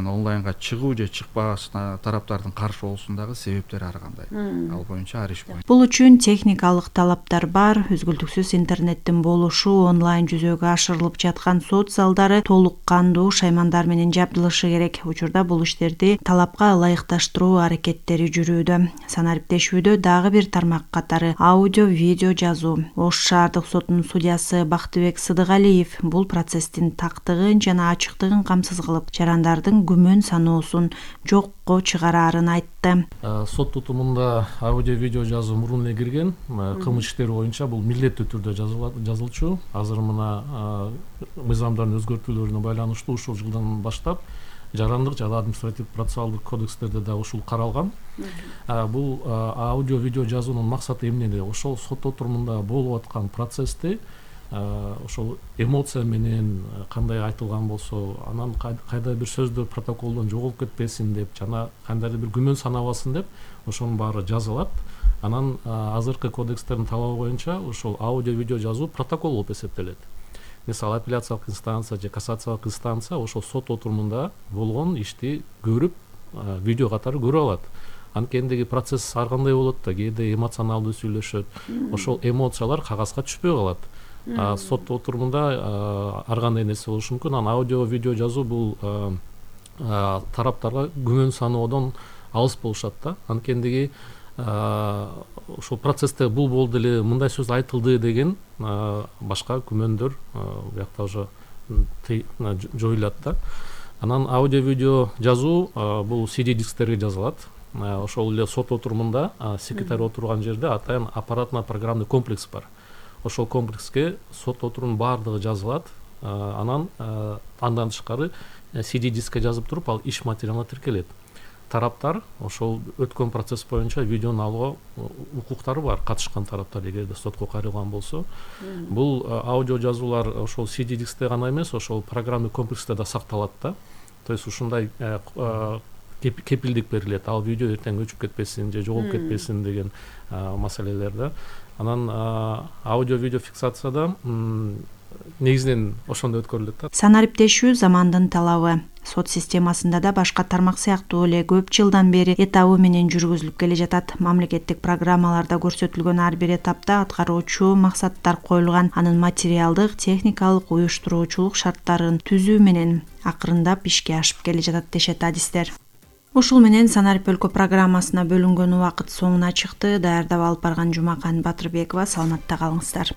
анан онлайнга чыгуу же чыкпаасына тараптардын каршы болуусундагы себептери ар кандай. Ал боюнча ар иш боюнча. Бул үчүн техникалык талаптар бар. Үзгүлтүксүз интернеттин болушу, онлайн жүзөгө ашырылып жаткан сот залдары толук кандуу шаймандар менен жабдылышы керек. Учурда бул иштерди талапка ылайыкташтыруу аракеттери жүрүүдө. Санариптешүүдө дагы бир тармак катары аудио, видео жазуу. Ош шаардык сотунун судьясы Бактыбек Сыдыгалиев бул процесстин тактыгын жана ачыктыгын камсыз кылып, жарандардын күмөн саноосун жокко чыгарарын айтты. Сот тутумунда аудио, видео жазуу мурун эле кирген. Кылмыш иштери боюнча бул милдеттүү түрдө жазылчу. Азыр мына мыйзамдардын өзгөртүүлөрүнө байланыштуу ушул жылдан баштап жарандык жана административдик процессуалдык кодекстерде да ушул каралган. Бул аудио, видео жазуунун максаты эмнеде? Ошол сот отурумунда болуп аткан процессти ошол эмоция менен кандай айтылган болсо, анан кайда бир сөздөр протоколдон жоголуп кетпесин деп жана кандайдыр бир күмөн санабасын деп ошонун баары жазылат. Анан азыркы кодекстердин талабы боюнча ошол аудио, видео жазуу протокол болуп эсептелет. Мисалы апелляциялык инстанция же кассациялык инстанция ошол сот отурумунда болгон ишти көрүп, видео катары көрүп алат. Анткендеги процесс ар кандай болот да, кээде эмоционалдуу сүйлөшөт. Ошол эмоциялар кагазга түшпөй калат. Сот отурумунда ар кандай нерсе болушу мүмкүн. Анан аудио, видео жазуу бул тараптарга күмөн саноодон алыс болушат да. Анткендеги ошол процессте бул болду эле, мындай сөз айтылды деген башка күмөндөр буякта уже жоюлат да. Анан аудио, видео жазуу бул CD дисктерге жазылат. Ошол эле сот отурумунда секретарь отурган жерде атайын аппаратно-программный комплекс бар. Ошол комплекске сот отурумунун баардыгы жазылат. Анан андан тышкары CD дискке жазып туруп, ал иш материалына тиркелет. Тараптар ошол өткөн процесс боюнча видеону алууга укуктары бар, катышкан тараптар эгерде сотко кайрылган болсо. Бул аудио жазуулар ошол CD дискте гана эмес, ошол программный комплексте да сакталат да. То есть ушундай кепилдик берилет. Ал видео эртең өчүп кетпесин же жоголуп кетпесин деген маселелерде. Анан аудио, видео фиксацияда негизинен ошондой өткөрүлөт да. Санариптешүү замандын талабы. Сот системасында да башка тармак сыяктуу эле көп жылдан бери этабы менен жүргүзүлүп келе жатат. Мамлекеттик программаларда көрсөтүлгөн ар бир этапта аткаруучу максаттар коюлган. Анын материалдык, техникалык, уюштуруучулук шарттарын түзүү менен акырындап ишке ашып келе жатат дешет адистер. Ушул менен Санарип өлкө программасына бөлүнгөн убакыт соңуна чыкты. Даярдап алып барган Жумакан Батырбекова. Саламатта калыңыздар.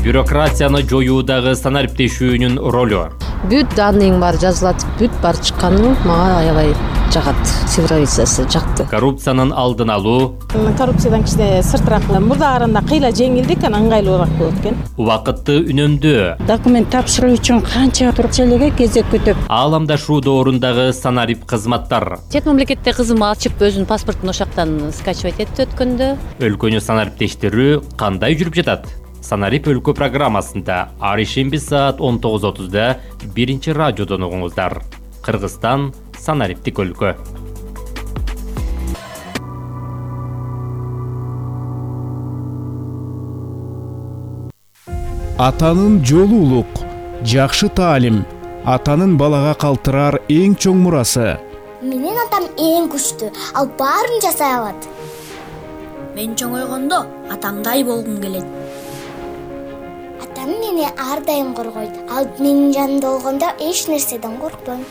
Бюрократияны жоюудагы санариптешүүнүн ролу. Бүт данныйың бар жазылат, бүт бар чыкканы мага аябай жагат. Цифровизациясы жакты. Коррупциянын алдын алуу. Коррупциядан кичине сыртыраак мурдаарында кыйла жеңилдик, анан ыңгайлуураак болот экен. Убакытты үнөмдөө. Документ тапшыруу үчүн канча турчелеге кезек күтүп. Ааламдашуу доорундагы санарип кызматтар. Чет мамлекетте кызым ачып өзүнүн паспортун ошактан скачивать этти өткөндө. Өлкөнү санариптештирүү кандай жүрүп жатат? Санарип өлкө программасында ар ишемби саат 19:30да биринчи радиодон угуңуздар. Кыргызстан санариптик өлкө. Атанын жолу улук, жакшы таалим, атанын балага калтырар эң чоң мурасы. Менин атам эң күчтүү, ал баарын жасай алат. Мен чоңойгондо атамдай болгум келет. Атам мени ар дайым коргойт. Ал менин жанымда болгондо эч нерседен коркпойм.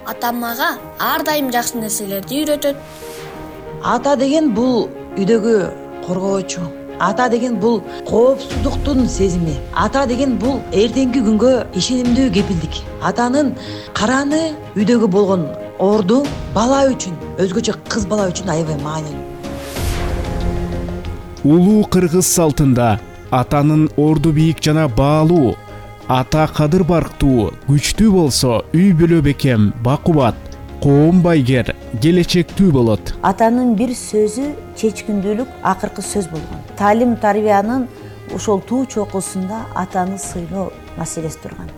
Атам мага ар дайым жакшы нерселерди үйрөтөт. Ата деген бул үйдөгү коргоочу. Ата деген бул коопсуздуктун сезими. Ата деген бул эртеңки күнгө ишенимдүү кепилдик. Атанын караны үйдөгү болгон орду бала үчүн, өзгөчө кыз бала үчүн аябай маанилүү. Улуу кыргыз салтында атанын орду бийик жана баалуу, ата кадыр барктуу, күчтүү болсо үй бүлө бекем, бакубат, коом байгер, келечектүү болот. Атанын бир сөзү чечкиндүүлүк акыркы сөз болгон. Таалим тарбиянын ошол туу чокусунда атаны сыйлоо маселеси турган.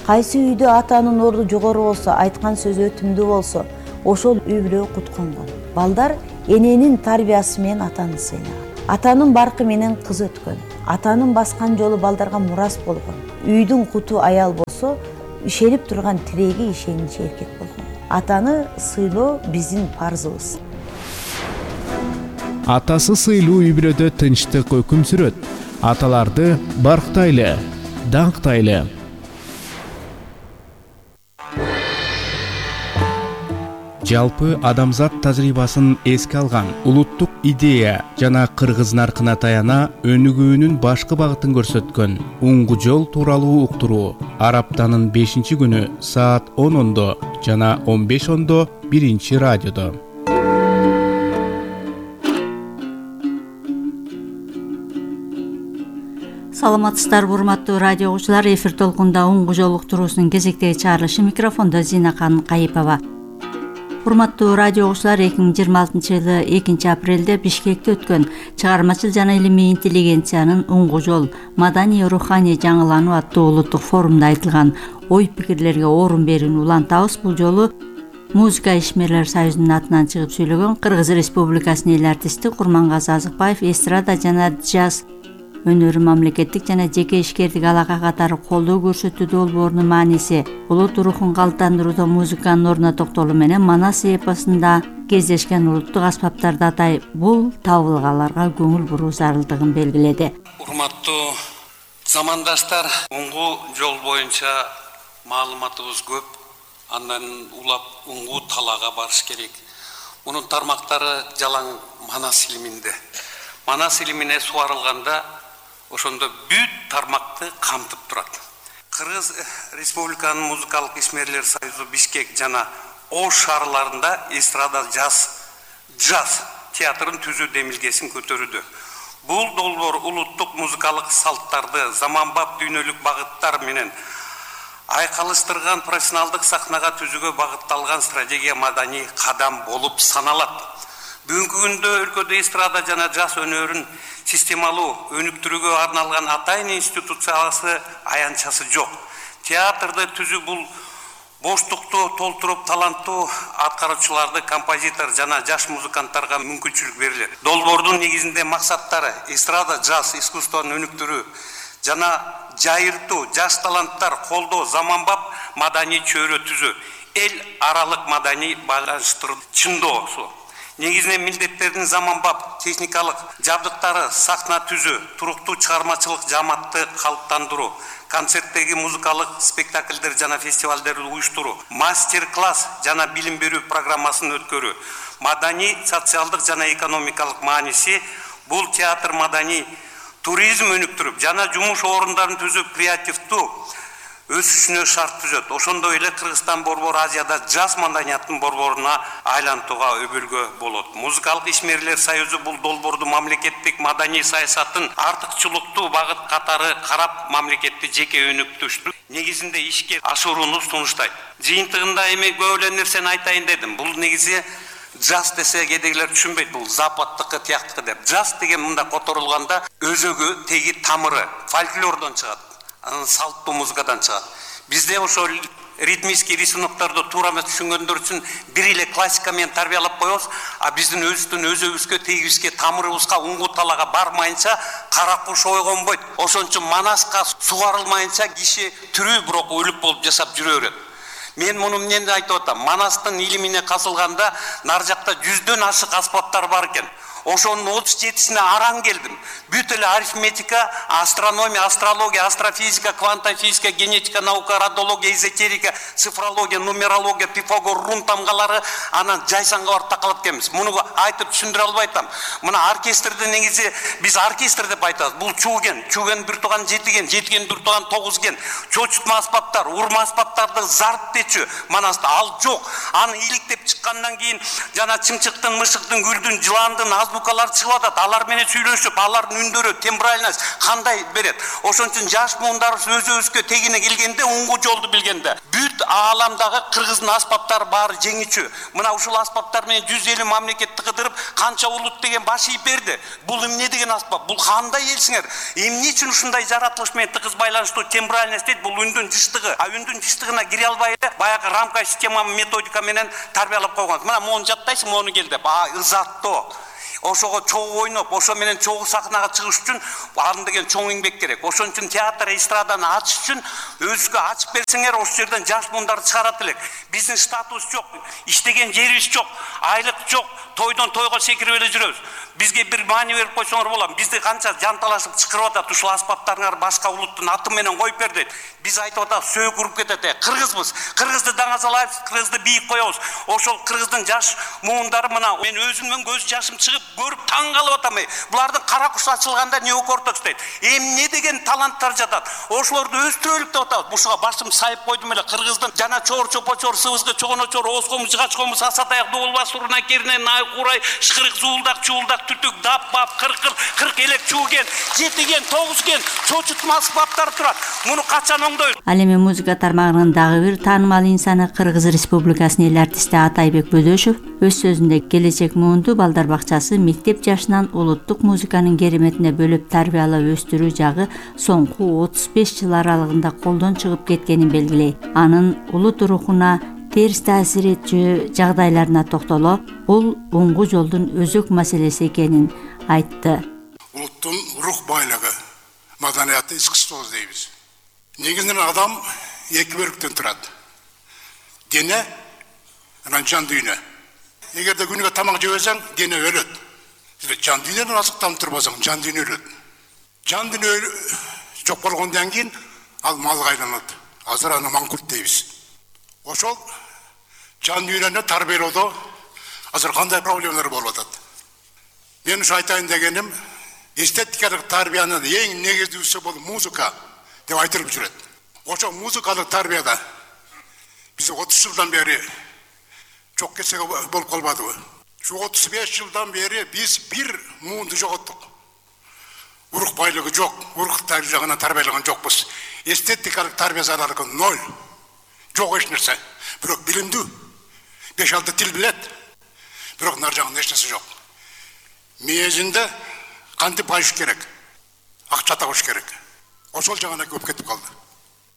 Кайсы үйдө атанын орду жогору болсо, айткан сөзү өтүмдүү болсо, ошол үй бүлө кутконгон. Балдар эненин тарбиясы менен атаны сыйлаган. Атанын баркы менен кыз өткөн. Атанын баскан жолу балдарга мурас болгон. үйдүн куту аял болсо, ишенип турган тиреги ишеничи эркек болгон. Атаны сыйлоо биздин парзыбыз. Атасы сыйлуу үй бүлөдө тынчтык өкүм сүрөт. Аталарды барктайлы, даңктайлы. Жалпы адамзат тажрыйбасын эске алган улуттук идея жана кыргыз наркына таяна өнүгүүнүн башкы багытын көрсөткөн уңгу жол тууралуу уктуруу ар аптанын 5-күнү саат 10:00 жана 15:00 биринчи радиодо. Саламатсыздарбы, урматтуу радио угуучулар. Эфир толкунда уңгу жол уктуруусунун кезектеги чыгарылышы, микрофондо Зинакан Кайыпова. Урматтуу радио угуучулар, 2026-жылы 2-апрелде Бишкекте өткөн чыгармачыл жана илимий интеллигенциянын уңгу жол маданий руханий жаңылануу аттуу улуттук форумда айтылган ой пикирлерге орун берүүнү улантабыз. Бул жолу Музыка ишмерлер союзунун атынан чыгып сүйлөгөн Кыргыз Республикасынын эл артисти Курмангазы Азыкбаев эстрада жана джаз өнөрү мамлекеттик жана жеке ишкердик алака катары колдоо көрсөтүү долбоорунун мааниси, улут рухун калыптандырууда музыканын ордуна токтолуу менен Манас эпосунда кездешкен улуттук аспаптарды атай бул табылгаларга көңүл буруу зарылдыгын белгиледи. Урматтуу замандаштар, уңгу жол боюнча маалыматыбыз көп, андан улап уңгу талаага барыш керек. Мунун тармактары жалаң Манас илиминде. Манас илимине суарылганда ошондо бүт тармакты камтып турат. Кыргыз Республиканын музыкалык ишмерлер союзу Бишкек жана Ош шаарларында эстрада джаз театрын түзүү демилгесин көтөрүүдө. Бул долбоор улуттук музыкалык салттарды заманбап дүйнөлүк багыттар менен айкалыштырган профессионалдык сахнага түзүүгө багытталган стратегия маданий кадам болуп саналат. Бүгүнкү күндө өлкөдө эстрада жана джаз өнөрүн системалуу өнүктүрүүгө арналган атайын институциясы аянтчасы жок. Театрды түзүү бул боштукту толтуруп таланттуу аткаруучуларды, композитор жана жаш музыканттарга мүмкүнчүлүк берилет. Долбоордун негизинде максаттары эстрада джаз искусствонун өнүктүрүү жана жайыртуу, жаш таланттар колдоо, заманбап маданий чөйрө түзүү, эл аралык маданий байланыштыруу чындоосу. Негизинен милдеттердин заманбап техникалык жабдыктары, сахна түзүү, туруктуу чыгармачылык жааматты калыптандыруу, концерттеги музыкалык спектакльдер жана фестивалдерди уюштуруу, мастер-класс жана билим берүү программасын өткөрүү. Маданий, социалдык жана экономикалык мааниси бул театр маданий туризм өнүктүрүп жана жумуш орундарын түзүп креативдүү өсүшүнө шарт түзөт. Ошондой эле Кыргызстан борбору Азияда джаз маданияттын борборуна айлантууга өбөлгө болот. Музыкалык ишмерлер союзу бул долбоорду мамлекеттик маданий саясаттын артыкчылыктуу багыт катары карап, мамлекетти жеке өнүктүштү негизинде ишке ашырууну сунуштайт. Жыйынтыгында эми көп эле нерсени айтайын дедим. Бул негизи джаз десе кедегилер түшүнбөйт, бул западтыкы тияктыкы деп. Джаз деген мында которулганда өзөгү, теги тамыры фольклордон чыгат. Салттуу музыкадан чыгат. Бизде ошол ритмический рисунокторду туура эмес түшүнгөндөр үчүн бир эле классика менен тарбиялап коебуз, а биздин өзүбүзгө, тегибизге, тамырыбызга, уңгу талаага бармайынча кара куш ойгонбойт. Ошон үчүн Манаска сугарылмайынча киши тирүү бирок өлүп болуп жашап жүрө берет. Мен муну эмнени айтып атам? Манастын илимине казылганда нар жакта 100дөн ашык аспаптар бар экен. Ошонун 37-сине араң келдим. Бүт эле арифметика, астрономия, астрология, астрофизика, квантофизика, генетика, наука, радиология, эзотерика, цифрология, нумерология, Пифагор, рун тамгалары анан жайсанга барып такалат экенбиз. Муну айтып түшүндүрө албай атам. Мына оркестрди негизи биз оркестр деп айтабыз. Бул чуген, бир туган жетиген, бир туган 9 ген. Чочутма аспаптар, урма аспаптарды зартпечү. Манаста ал жок. Аны иликтеп чыккандан кийин жана чымчыктын, мышыктын, гүлдүн, жыландын азбукалар чыгып атат. Алар менен сүйлөшүп, алардын үндөрү, тембральность кандай берет. Ошон үчүн жаш муундарыбыз өзүбүзгө тегине келгенде, уңгу жолду билгенде, бүт ааламдагы кыргыздын аспаптары баары жеңичү. Мына ушул аспаптар менен 150 мамлекетти кыдырып, канча улут деген баш ийип берди. Бул эмне деген аспап? Бул кандай элсиңер? Эмне үчүн ушундай жаратылыш менен тыгыз байланыштуу тембральность дейт? Бул үндүн жыштыгы. А үндүн жыштыгына кире албай эле баягы рамка система методика менен тарбиялап койгон. Мына мону жаттайсың, мону кел деп. Ызаттоо. ошого чогуу ойноп, ошо менен чогуу сахнага чыгыш үчүн аны деген чоң эмгек керек. Ошон үчүн театр, эстраданы ачыш үчүн өзгө ачып берсеңер, ошол жерден жаш мундарды чыгарат элек. Биздин статус жок, иштеген жерибиз жок, айлык жок, тойдон тойго секирип эле жүрөбүз. Бизге бир маани берип койсоңор болот. Бизди канча жанталашып чакырып атат, ушул аспаптарыңар башка улуттун аты менен коюп бер дейт. Биз айтып атабыз, сөөк уруп кетет. Кыргызбыз. Кыргызды даңазалайбыз, кыргызды бийик коебуз. Ошол кыргыздын жаш муундары мына мен өзүмдөн көз жашым чыгып көрүп таң калып атам. Булардын кара куш ачылганда неокортекс дейт. Эмне деген таланттар жатат. Ошолорду өстүрөлүк деп атабыз. Бушуга башым сайып койдум эле. Кыргыздын жана чор чопочор, сыбызгы чогоночор, оскомуз, жыгачкомуз, асатаяк, дуулба, суруна, керне, най, курай, шкырык, зуулдак, чуулдак, түтүк, дап, бап, кырк элек чууген, жетиген, тогузген, чочутма аспаптар турат. Муну качан оңдойлу? Ал эми музыка тармагынын дагы бир таанымал инсаны Кыргыз Республикасынын эл артисти Атайбек Бөдөшев өз сөзүндө келечек муунду балдар бакчасы мектеп жашынан улуттук музыканын кереметине бөлүп тарбиялап өстүрүү жагы соңку 35 жыл аралыгында колдон чыгып кеткенин белгилейт. Анын улут рухуна терс таасир этчү жагдайларына токтоло, бул оңгу жолдун өзөк маселеси экенин айтты. Улуттун рух байлыгы, маданияты, искусство дейбиз. Негизинен адам эки бөлүктөн турат. Дене, анан жан дүйнө. Эгерде күнүгө тамак жебесең, дене өлөт. Жан дүйнөнү азыктанып турбасаң, жан дүйнө өлөт. Жан дүйнө жок болгондон кийин ал малга айланат. Азыр аны маңкурт дейбиз. Ошол жан дүйнөнү тарбиялоодо азыр кандай проблемалар болуп атат? Мен ушу айтайын дегеним, эстетикалык тарбиянын эң негизгиси бул музыка деп айтылып жүрөт. Ошо музыкалык тарбияда биз 30 жылдан бери жок кетсе болуп калбадыбы? Şu 35 yıldan beri biz bir muğundu жоғыттық. Uruk байлығы жоқ, uruk жағынан тарбиялаған жоқпыз. Эстетикалық тарбия зарары ноль. Жоқ еш нәрсе. Бірақ білімді, 5-6 тіл біледі. Бірақ нар жағында еш нәрсе жоқ. Мезінде қанты байыш керек, ақша тауыш керек. Ошол жағына көп кетіп қалды.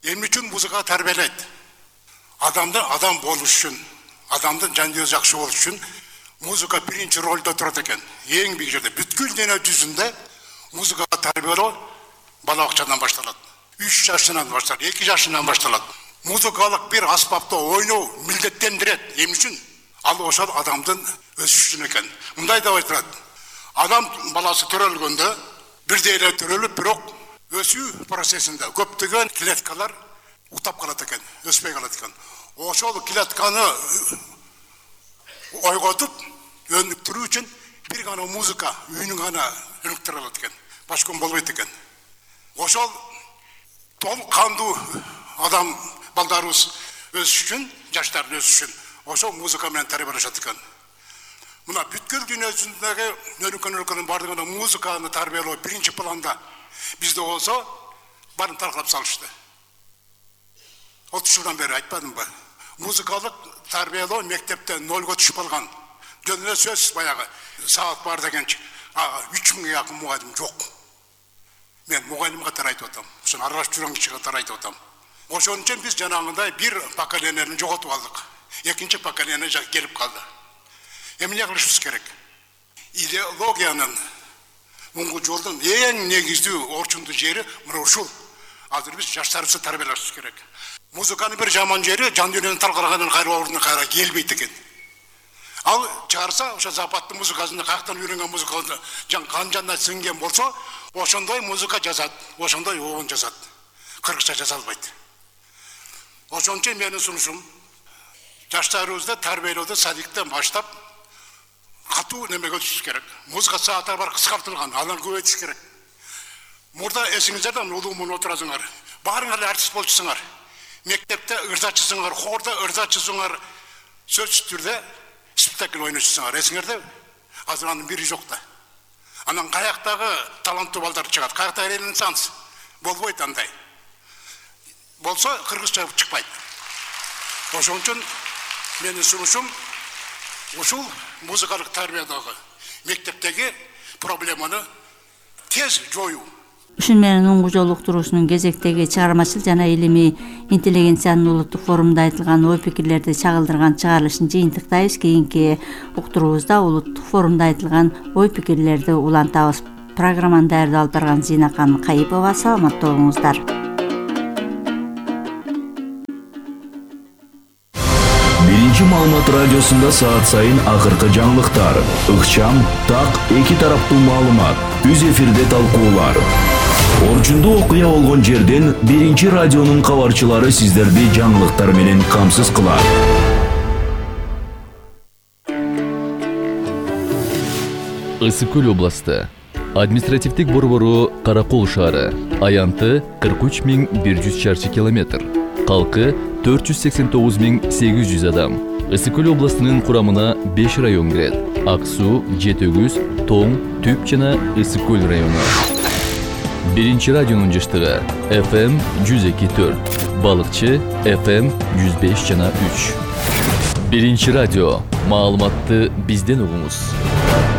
Емі үшін музыка тарбиялайды. Адамды адам болу үшін, адамдың жандығы жақсы болу үшін музыка биринчи ролдо турат экен. Эң биг жерде бүткүл дене жүзүндө музыка тарбиялоо бала бакчадан башталат. 3 жашынан башталат, 2 жашынан башталат. Музыкалык бир аспапта ойноо милдеттендирет. Эмне үчүн? Ал ошол адамдын өсүшүн экен. Мындай деп айтылат. Адам баласы төрөлгөндө бирдей эле төрөлүп, бирок өсүү процессинде көптөгөн клеткалар утап калат экен, өспөй калат экен. Ошол клетканы ойготуп, өнүктүрүү үчүн бир гана музыка, үнүн гана өнүктүрө алат экен. Башка болбойт экен. Ошол толук кандуу адам балдарыбыз өсүш үчүн, жаштар өсүш үчүн ошол музыка менен тарбиялашат экен. Мына бүткүл дүйнө жүзүндөгү өнүккөн бардыгына музыканы тарбиялоо биринчи планда бизде болсо барын таркалап салышты. 30 жылдан бери айтпадымбы? Музыкалык тарбиялоо мектепте нольго түшүп калган. Жөнүнө сөз баягы саат бар дегенчи 3000 жакын мугалим жок. Мен мугалим катары айтып атам. Ошон аралашып жүргөн киши катары айтып атам. Ошон үчүн биз жанагындай бир поколенияны жоготуп алдык. Экинчи поколение келип калды. Эмне кылышыбыз керек? Идеологиянын муңгу жолдун эң негиздүү орчундуу жери мына ушул. Азыр биз жаштарыбызды тарбиялашыбыз керек. Музыканын бир жаман жери жан дүйнөнү талкалагандан кайра ордуна кайра келбейт экен. Ал чыгарса, ошо западдын музыкасында каяктан үйрөнгөн музыканы канжанда сиңген болсо, ошондой музыка жазат, ошондой оон жазат. Кыргызча жаза албайт. Ошон үчүн менин сунушум жаштарыбызды тарбиялоодо садиктен баштап катуу немеге өтүш керек. Музыка сааттары бар кыскартылган, аны көбөйтүш керек. Мурда эсиңиздерде улуумун отурасыңар. Баарыңар артист болчусуңар. Мектепте ырзачысыңар, хорда ырзачысыңар, сөзсүз түрдө спектакль ойночусуңар. Эсиңерде азыр анын бири жок да. Анан каяктагы таланттуу балдар чыгат, каякта ренессанс болбойт андай. Болсо кыргызча чыкпайт. Ошон үчүн менин сунушум ушул музыкалык тарбиядагы мектептеги проблеманы тез жоюу. Ушун менен уңгу жол уктуруусунун кезектеги чыгармачыл жана илимий интеллигенциянын улуттук форумунда айтылган ой пикирлерди чагылдырган чыгарылышын жыйынтыктайбыз. Кийинки уктуруубузда улуттук форумда айтылган ой пикирлерди улантабыз. Программаны даярдап алып барган Зинакан Кайыпова. Саламатта болуңуздар. Биринчи маалымат радиосунда саат сайын акыркы жаңылыктар, ыкчам, так, эки тараптуу маалымат, үз эфирде талкуулар. Орчундуу окуя болгон жерден биринчи радионун кабарчылары сиздерди жаңылыктар менен камсыз кылат. Ысык Көл областы. Административдик борбору Каракол шаары. Аянты 43.100 чарчы километр. Калкы 489.800 адам. Ысык Көл областынын курамына 5 район кирет. Ак суу, Жетөгүз, Тоң, Түп жана Ысык Көл району. Биринчи радионун жыштыгы FM 102.4, Балыкчы FM 105 жана 3. Биринчи радио. Маалыматты бизден угуңуз.